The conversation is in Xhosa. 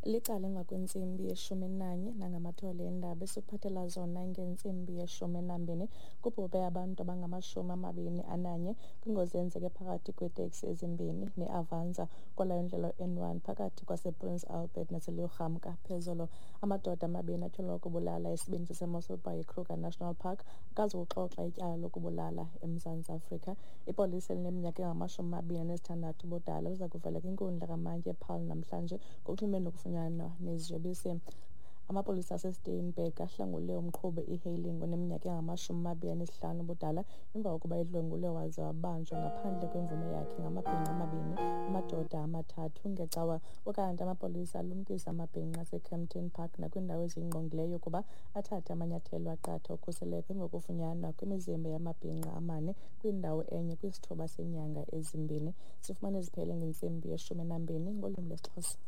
Licala emva kwentsimbi yeshumi nanye nangamathole eendaba esikuphathela zona ngentsimbi yeshumi nambini. Kubhubhe abantu abangama-21 kwingozi eyenzeke phakathi kweeteksi ezimbini neAvanza kwalayo ndlela N1 phakathi kwasePrince Albert naseLugamka phezolo. Amadoda amabini atyholwa ukubulala isibini saseMossel Bay eKruger National Park akazukuxoxa ityala lokubulala eMzantsi Afrika. Ipolisa elineminyaka engama-26 ubudala liza kuvela kwinkundla kamantyi ePaarl namhlanje ngokunxulumene nokufunyanwa neziyobisi. Amapolisa aseSteenberg ahlangule umqhubi e-hailing oneminyaka engama-25 ubudala emva kokuba edlwengulwe waze wabanjwa ngaphandle kwemvume yakhe ngamabhinqa amabini, amadoda amathathu ngeCawa. Ukanti amapolisa alumkisa amabhinqa aseKempton Park nakwiindawo eziyingqongileyo ukuba athathe amanyathelo aqatha okhuseleko emva kokufunyanwa kwemizimba yamabhinqa amane kwindawo enye kwisithuba seenyanga ezimbini. Sifumane ziphele ngentsimbi yeshumi nambini ngolwimi lwesiXhosa.